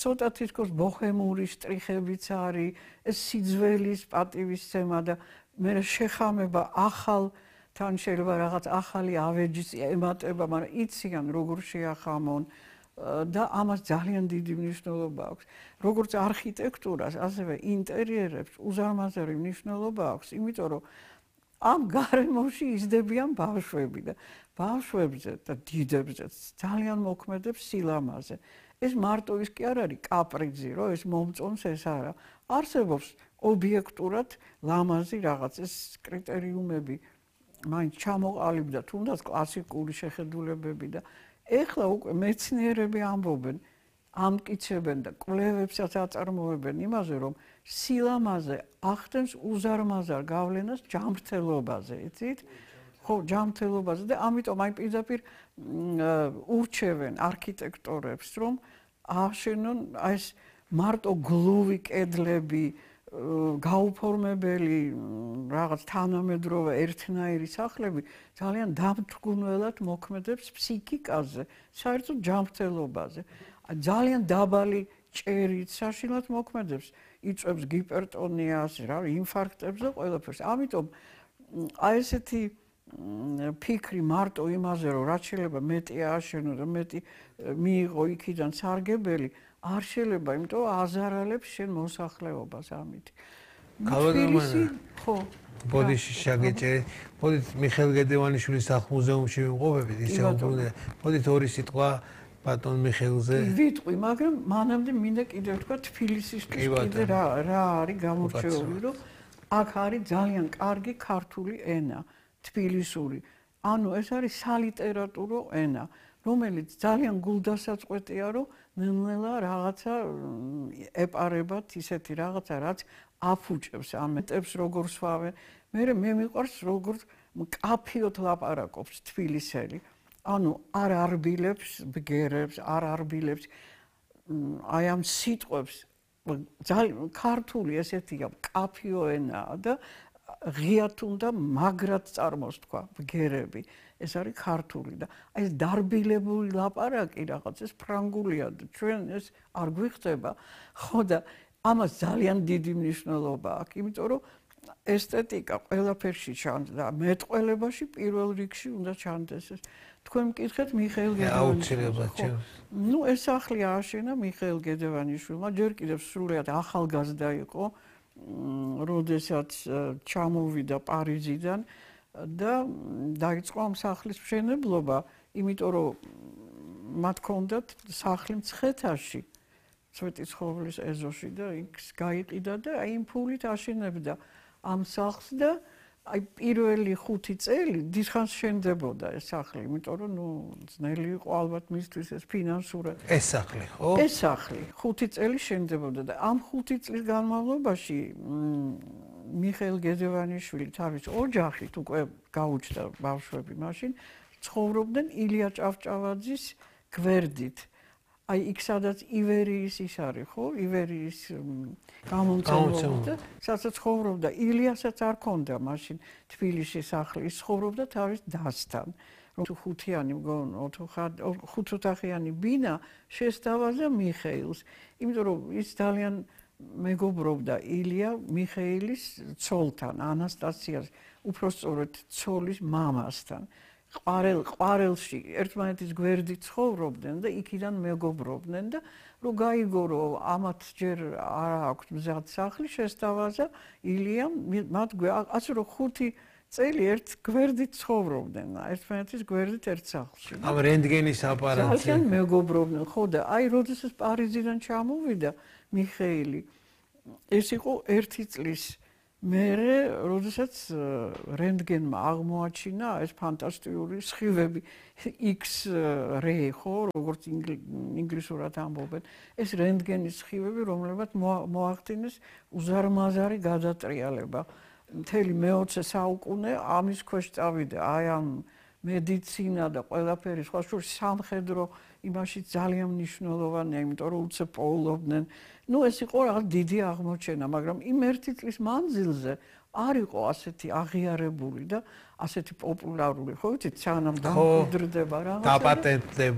ცოტა თითქოს ბოჰემური შტრიხებიც არის, ეს სიძველის პატივისცემა და მე შეხამება ახალ თან შეიძლება რაღაც ახალი ავეჯის ემატება, მაგრამ იციან როგორ შეახამონ და ამას ძალიან დიდი მნიშვნელობა აქვს. როგორც არქიტექტურას, ასევე ინტერიერებს უზარმაზარი მნიშვნელობა აქვს, იმიტომ რომ ამ გარემოში იზრდებიან ბავშვები და ბავშვებზე და დიდებზეც ძალიან მოქმედებს სილამაზე. ეს მარტო ის კი არ არის კაპრიზი, რომ ეს მომწონს ეს არა. არსებობს ობიექტურად ლამაზი რაღაც ეს კრიტერიუმები მაინც ჩამოყალიბდა თუნდაც კლასიკური შეხედულებები და ეხლა უკვე მეცნიერები ამბობენ, ამტკიცებენ და კვლევებსაც აწარმოებენ იმაზე, რომ სილამაზე ახდენს უზარმაზარ გავლენას ჯანმრთელობაზე, იცით? ხო, ჯანმრთელობაზე და ამიტომ აი პირდაპირ ურჩევენ არქიტექტორებს, რომ აშენონ აი ეს მარტო გლუვი კედლები, გაუფორმებელი რაღაც თანამედროვე ერთნაირი სახლები ძალიან დამთრგუნველად მოქმედებს ფსიქიკაზე, საერთოდ ჯანმრთელობაზე. ძალიან დაბალი ჭერით საშინლად მოქმედებს, იწვევს გიპერტონიას, ინფარქტებს და ყველაფერს. ამიტომ აი ესეთი ფიქრი მარტო იმაზე, რომ რაც შეიძლება მეტი ააშენო და მეტი მიიღო იქიდან სარგებელი, არ შეიძლება, იმიტომ აზარალებს შენ მოსახლეობას ამით. თბილისი, ხო. ბოდიში შაგეჭერი. მოდით მიხეილ გედევანიშვილის სახლ-მუზეუმში ვიმყოფებით, ისე უბრუნდა. მოდით ორი სიტყვა ბატონ მიხეილზე. ვიტყვი, მაგრამ მანამდე მინდა კიდევ თქვა თბილისისთვის კიდე რა არის გამორჩეული, რომ აქ არის ძალიან კარგი ქართული ენა, თბილისური. ანუ ეს არის სალიტერატურო ენა, რომელიც ძალიან გულდასაწყვეტია, რომ ნელ-ნელა რაღაცა ეპარებათ ისეთი რაღაცა, რაც აფუჭებს ამეტებს როგორ სვავენ. მე მიყვარს როგორ მკაფიოდ ლაპარაკობს თბილისელი. ანუ არ არბილებს ბგერებს, არ არბილებს აი ამ სიტყვებს ძალიან ქართული ესეთია მკაფიო ენაა და ღიათ უნდა მაგრად წარმოს თქვა ბგერები. ეს არის ქართული და აი ეს დარბილებული ლაპარაკი რაღაც ეს ფრანგულია და ჩვენ ეს არ გვიხდება. ხო და ამას ძალიან დიდი მნიშვნელობა აქვს, იმიტომ რომ ესთეტიკა ყველაფერში ჩანს და მეტყველებაში პირველ რიგში უნდა ჩანდეს ეს. თქვენ მკითხეთ მიხეილ გედევანიშვილს. ნუ ეს სახლი ააშენა მიხეილ გედევანიშვილმა, ჯერ კიდევ სრულიად ახალგაზრდა იყო, როდესაც ჩამოვიდა პარიზიდან და დაიწყო ამ სახლის მშენებლობა, იმიტომ რომ მათ ჰქონდათ სახლი მცხეთაში, სვეტიცხოვლის ეზოში და იქ გაიყიდა და აი იმ ფულით აშენებდა ამ სახლს და აი პირველი 5 წელი დიდხანს შენდებოდა ეს სახლი, იმიტომ რომ ნუ ძნელი იყო ალბათ მისთვის ეს ფინანსურად. ეს სახლი, ხო? ეს სახლი 5 წელი შენდებოდა და ამ 5 წლის განმავლობაში მიხეილ გედევანიშვილი თავის ოჯახით უკვე გაუჩნდა ბავშვები მაშინ ცხოვრობდნენ ილია ჭავჭავაძის გვერდით. აი იქ სადაც ივერიის ის არის, ხო? ივერიის გამომწვევი. სადაც ცხოვრობდა ილიასაც არ ქონდა მაშინ თბილისში სახლი, ის ცხოვრობდა თავის დასთან. რომ ხუთიანი მგონო, ხუთოთახიანი ბინა შესთავაზა მიხეილს, იმიტომ რომ ის ძალიან მეგობრობდა ილია მიხეილის ცოლთან, ანასტასიას, უпроსწორად ცოლის მამასთან. ყვარელში ერთმანეთის გვერდით ცხოვრობდნენ და იქიდან მეგობრობდნენ და რომ გაიგო რომ ამათ ჯერ არ აქვს მზად სახლი შესთავაზა ილიამ მათ ასე რომ 5 წელი ერთ გვერდით ცხოვრობდნენ ერთმანეთის გვერდით ერთ სახლში. ამ რენტგენის აპარატზე ძალიან მეგობრობდნენ, ხო და აი როდესაც პარიზიდან ჩამოვიდა მიხეილი ეს იყო 1 წლის მერე, როდესაც რენტგენმა აღმოაჩინა ეს ფანტასტიკური სხივები X-ray, ხო, როგორც ინგლისურად ამბობენ, ეს რენტგენის სხივები, რომლებმაც მოახდინეს უზარმაზარი გადატრიალება. მთელი მე-20 საუკუნე ამის ქვეშ წავიდა, აი ამ მედიცინა და ყველაფერი სხვა შორის სამხედრო იმაში ძალიან მნიშვნელოვანია, იმიტომ რომ უცებ პოულობდნენ. ნუ ეს იყო რაღაც დიდი აღმოჩენა, მაგრამ იმ 1 წლის მანძილზე არ იყო ასეთი აღიარებული და ასეთი პოპულარული, ხო ვიცით, სანამ დამკვიდრდება რაღაცა. დაპატენტდება